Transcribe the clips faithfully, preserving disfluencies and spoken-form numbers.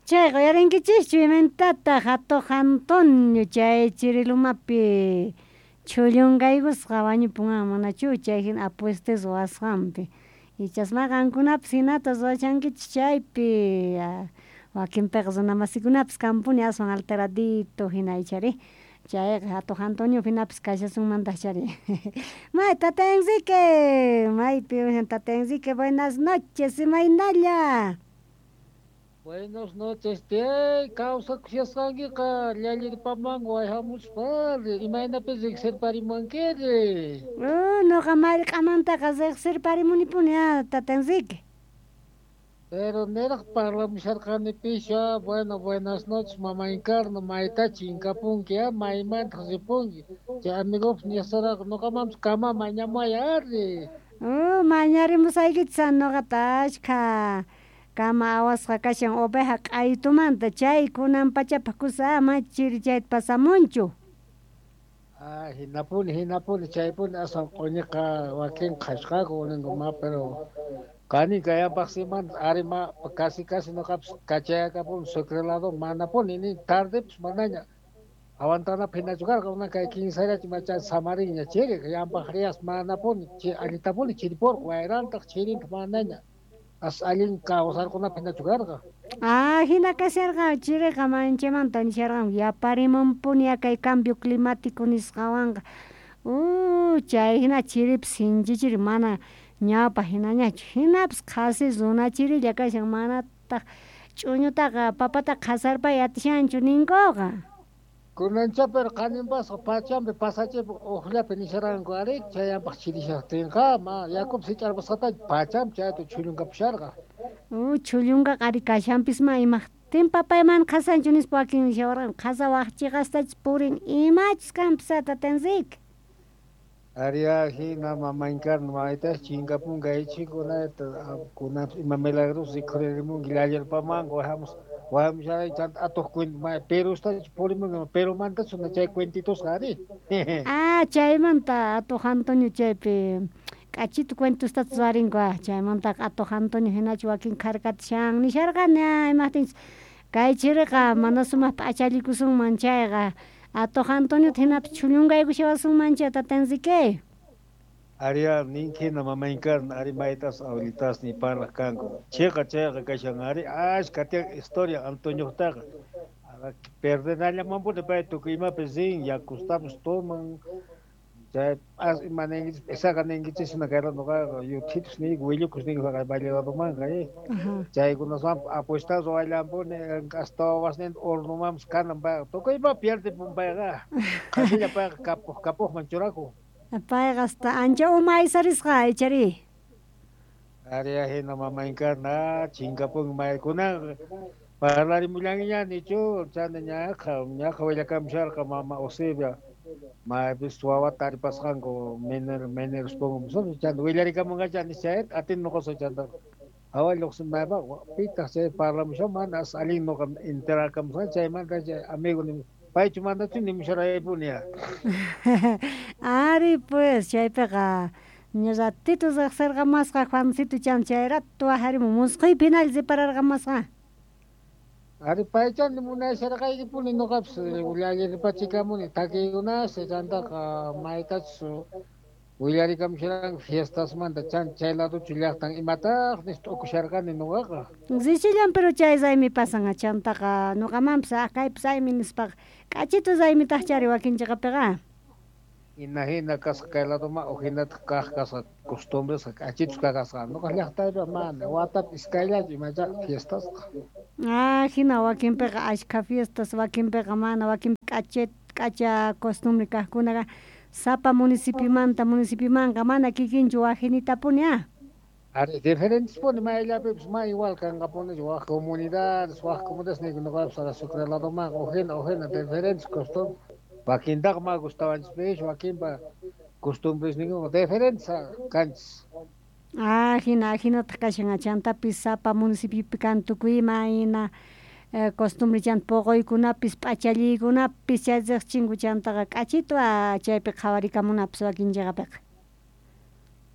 Chayqa uyarinkichikchu imayntataq atuq Antonio chay Chirilumapi chhullunqaykusqa wañupun manachu chay hina apuestas ruwasqanpi ichasma qankunapas hinata ruwashankichik chaypi wakinpiqa runa masikunapas kanpuni aswan alteradito hina ichari chayqa atuq Antonio hinapis kashasunmantaq chari may tata Enrique maypi tata Enrique buenas noches imaynalla. Buenas noches, tiyay, kawsakushasqankiqa llallirpamanqa wayhamuspari, imaynapi riqsirparimunkiri. Uh, nuqa mallq'amantaqa riqsirparimunipuni ah, tata Enrique. Pero niraq parlamusharqanipisha, bueno, buenas noches, mama Encarna, mayta chinkapunki, ah, maymantaq ripunki. Chay amigopis nisaraqa nuqamanpis kama mañamuway ari. Uh, mañarimusaykichis nuqata ashkha kama awasqa kashan oveja q'aytumanta chay kunan pachapaq kusa ama chiri chayta pasamunchu. Ah, hinapuni, hinapuni, chaypuni aswan q'uñiqa wakin qhashqaku ninku ma, pero kani kayapaqsimanta ari ma casi casi nuqapis kachayakapuni Sucre lado manapuni ni tardepis manaña aguantanapaq hinachu karqa una kay kinsallachu macha samarinña chiri llampaq riyas manapuni allitapuni chiripurqa wayrantaq chirintaq manaña as allin kawsarqunapaq hinachu karqa. Ah, hina kasharqa chiriqa manchaymanta nisharqanku yaparimunpuni kay cambio climático nisqawanqa uh, chay hina chiripis sinchi chiri mana ñawpaq hinañachu hinapis qhasi runa chirilla kashan manataq ch'uñutaqa papataqa qhasarpay atishanchu ninkuqa. Kunancha pero qaninpasqa pachampi pasachipi uqllapi nisharanku ari chayapaq chirishaqtinqa ma yakupis hich'arpasqatachu pachampi chayta chhullunkapisharqa. Uh, chhullunkaqa ari kashanpis ma imaqtin papay mana qhasanchu nispa wakin nishawarqanku qhasa waq chiqastachus purin imachus kanpis tata Enrique. Ariya hina mama Encarna maytas chinkapunqa aychikunata kunanpis ima milagros rikhuririmunki llallirpamanqa wayhamus wayhamusharay chanta atuq cuento Perustachu purimunki Perumantachu chay cuentitusqa ari. Ah, chaymanta atuq Antonio chaypi k'achitu cuentostata ruwarinku ah chaymantaqa atuq Antonio hinachu wakin kharkatishan nisharqani imaqtinchus kay chiriqa mana sumaq p'achallikusunman chayqa atuq Antoniota hinapis chhullunqaykushawasunman chay tata Enrique. Ariya ninki hina mama Encarna ari maytas abuelitasniy parlaq kanku chiqa chayqa kashan ari ashka tiyan historia Antoniotaqa perdenallamanpuni pay tukuy imapis rin yakustapis toman chay as ima ninkichis p'isaqqa ninkichis hina kayta nuqaqa yuthitus niyku willukus niyku haqay valle ladomanqa chaykunaswanpas apuesta ruwallanpuni hasta wawasninta hornomanpis kanan payqa tukuy ima pierdepun payqa qhasilla payqa kapuq kapuqman churakun. Payqa hasta ancha uma aysarisqa ichari. Ariya hina mama Encarna chinkapunki maykunaqa parlarimullankiña nichu chanta ñaqa ñaqa willakamusharqa mama Eusebia maypis wawata taripasqanku miner mineros pongo chanta willarikamunqacha nischayta atin nuqasa chanta hawa lluqsin maypa pitaq chay parlamushan mana as allin nuqa enterakamusqani chaymanta chay amigo paychu manachu nimusharaypuni ya. Ari pues chaypiqa ña ratito riqsirqamasqa Juancito chan chay rato waqharimun musquypi hinalla repararqamasqa. Ari paychani munasharqaykipuni nuqapis llallirpachikamuni takiykunas chantaqa maytachus willarikamusharanku fiestasmanta chan chay ladochu llaqtan imataq nispa t'ukusharqani nuqaqa. Richillan pero chay raymi pasan chantaqa nuqamanpis ah kaypis raymi nispaqa k'achitu raymitaq chari wakin chiqapiqa. Hina hina kasqa kay ladoman uqhinataq kaq kasqa costumbresqa k'achitus kasqa nuqa llaqtaypi mana watapi iskayllachu imacha fiestasqa. Ah, hina wakinpiqa ashkha fiestas wakinpiqa mana wakin k'acha k'acha costumbre kaqkunaqa sapa municipiomanta municipiomanqa mana kikinchu wajinitapuni ah. Ari diferentespuni mayllapipis ma igual kanqapunichu waq comunidades waq comunidades niyku nuqapis Sucre ladomanqa uqhina uqhina diferentes costumbres wakintaqa ma gustawanchispish wakinpa costumbresninkuqa diferentes kanchis. Ah, hina hinataq kashan chantapis sapa municipiopi kan tukuy ima hina costumbre chanta puquykunapis p'achalliykunapis chay riqchinku chantaqa k'achitu chaypi qhawarikamunapis wakin chiqapiqa.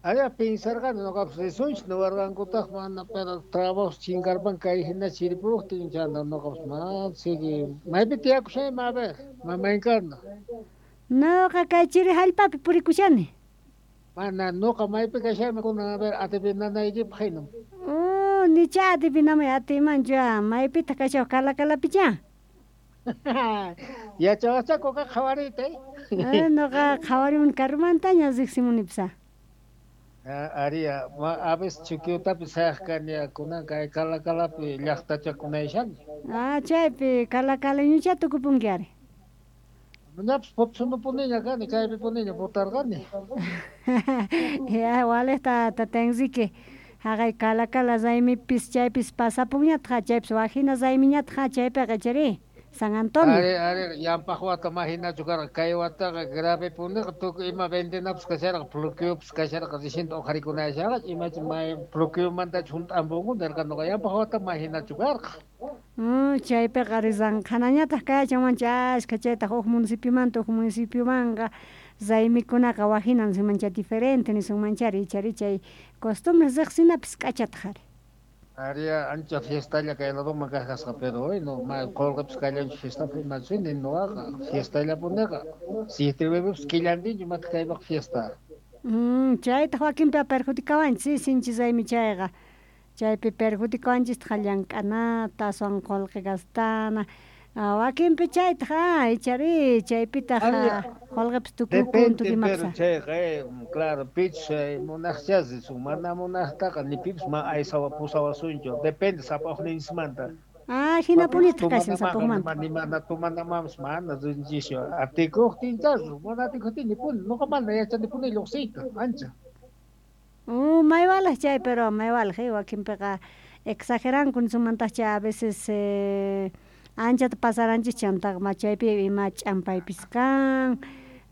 Allá pensarqani nuqapas risunchis niwarqankutaq mana pero trabajo chinkarpan kay hina chiripuqtin chanta nuqapas mana sigue maypi tiyakushaymi a ver mama Encarna. Nuqa kay chiri hallp'api purikushani. Mana nuqa maypi kashaymi kunan a ver adivinanaykipaq hinam. Oh, nicha adivinamay atiymanchu maypitaq kashawaq Calacalapicha. Yachawaqcha kuka qhawariyta. Eh, nuqa qhawarimuni karumantaña riqsimunipis. Aria, a veces Chuquiotapi sayaq kani kunan kay Calacalapi llaqtachakunayshani. Ah, chaypi Calacalañucha tukupunki ari. Ñapas Potsunupuniña kani, kaypipuniña votarqani. Ya, waliqta tata Enrique haqay Calacala raymipis chaypis pasapunñataq chaypis waqhina raymiñataq chaypiqa chayri San Antonio. Ari, ari, llampaq wata mahinachu karqa kay wataqa gravepuniqa tukuy ima vendenapas kasharqa bloqueopas kasharqa recién uqharikunashaqa imachi may bloqueomantachu hunt'ampunku nirqa nuqa llampaq wata mahinachu karqa. Mm, chaypiqa rizanqhanañataq kayachanmancha ashkha chaytaq huk municipiomanta huk municipiomanqa raymikunaqa waqhina nisunmancha diferente nisunmanchari ichari chay costumbres riqsinapis k'achataq ari. Aria ancha fiestalla kay ladoman kaq pero bueno, ma qulqipis kallanchu fiestapi imachu nuqaqa fiestallapuniqa siete killantinchu imataq kaypaq fiesta. Mm, chaytaq wakinpi perjudicawanchis sinchi raymi chayqa chaypi perjudicawanchistaq llank'anata aswan qullqi gastana wakinpi chaytaq ah ichari chaypitaq qullqipis tukukun Depende pero chayqa claro pichus munaqcha risun mana munaqtaqa ni pipis ma aysawa pusawasunchu depende sapa uqninchismanta. Ah, hinapunitaq kashan sapaqmanta. Ni mana tumanamapas mana rinchischu atikuqtincha mana atikuqtin nipuni nuqa mana yachanipuni lluqsiyta ancha. Uh, maywalaq chay pero maywalaq wakinpiqa exageranku nisunmantaqcha a veces eh, anchata pasaranchis chantaqa ma chaypi ima ch'ampaypis kan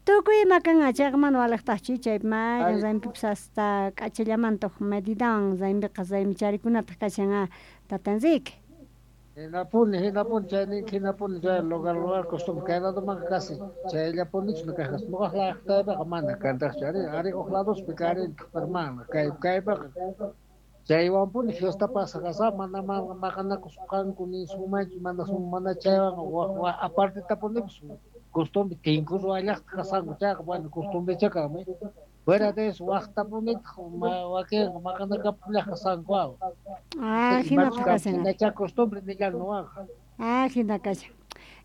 tukuy ima kan chayqa mana waliqtaqchu chaypi mayqin raymipipas hasta k'achallamanta huk medidawan raymiqa raymichariykunataq kashan ah tata Enrique. Hinapuni hinapuni chay ninki hinapuni chay lugar lugar costumbre kay ladomanqa casi chayllapunichu kaq nuqaq llaqtaypiqa mana kantaqchu ari ari huk ladospi karintaq pero mana kay kaypiqa chaywanpuni fiesta pasaq mana maqanakusqanku nisunmanchu mana mana chaywanqa waq aparte tapunipis costumbre tinku ruwallaqta kasqanku chayqa bueno costumbrecha kanmi fuera de eso waqtapunitaq wakinqa maqanakapullaq kasqanku. Ah, hinataq kashan. Chay costumbre nillan nuqaqa. Ah, hina kashan.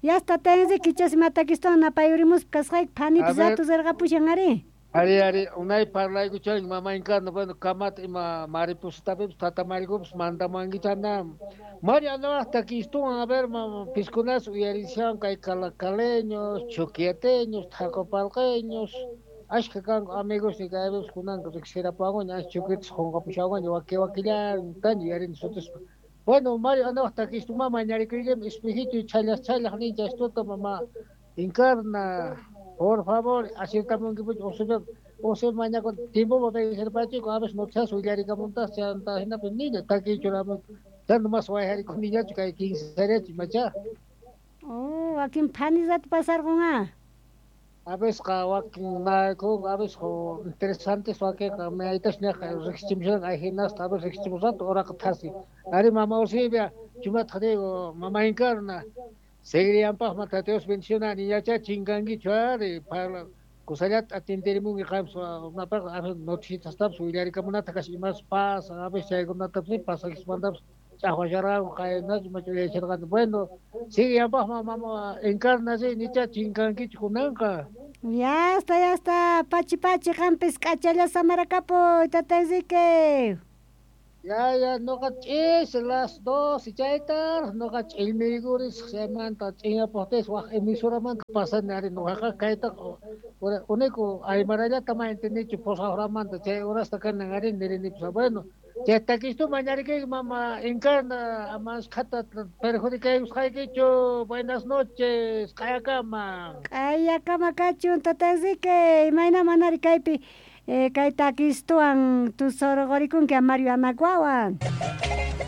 Ya está tata Enrique chas matakistawan napayurimuspa kasqayki phanipis rato rirqapushan ari. Ari ari unay parlaykuchanki mama Encarna bueno kamata ima maripusatapipis tata Marikupis mandamanki chana Mario anawaq takistuwan a ver mama piskunas uyarishan kay calacaleños chuquiateños tacopalqeños ashka kanku amigos ni kaypipis kunanqa riqsirapakuña ancha chuquitas qunqapushawanña waki wakillantaña yuyarini sutispa. Bueno Mario anawaq takistuma mañarikuykimi espejito chhallaq chhallaq nincha estuta mama Encarna por favor aciertamunkipuchu usipim usip mañakun tiempopa vencerpachiku a veces noticias willarikamuntaq chanta hinapi niña takiy churamun chanta mas wayharikuniñachu kay quince imacha. Oh, wakin phani rato pasarqun ah. A veces wakin naykun a veces interesantes wakinqa maytas ñaqa riqsichimushan ayhinasta a veces riqsichimusqanta uraqa thasi ari mama Eusebia chumataq digo mama Encarna seguiriyanpaqma tata Dios bendiciona niñacha chinkankichu ari parla kusallata atenderimunki qampas unapaq noticiastapis willarikamunataq kashan imas pasan a veces chaykunatapis pasakismantapas ch'aqwasharqanku qaynachu imachu yacharqani bueno siguiyanpaqma mama Encarna ri nicha chinkankichu kunanqa. Ya está, ya está, pachi pachi qampis k'achalla samarakapuy tata Enrique. Ya, ya, nuqa ch'isi las dos chaytaraq nuqa ch'illmiykurisaq chaymanta ch'inyapuqtiysi waq emisoramanta pasani ari nuqaqa kaytaqa uniku aymarallata ma entendiychu pusaq horamanta chay horasta kanan ari nirinipis bueno chay takistu mañarikayki mama Encarna ama ashkhata perjudicaykusqaykichu buenas noches q'ayakama. Q'ayakama kachun tata Enrique imayna manari kaypi Eh, kay takistuwan tusurqurikunki Mario Anaguawan.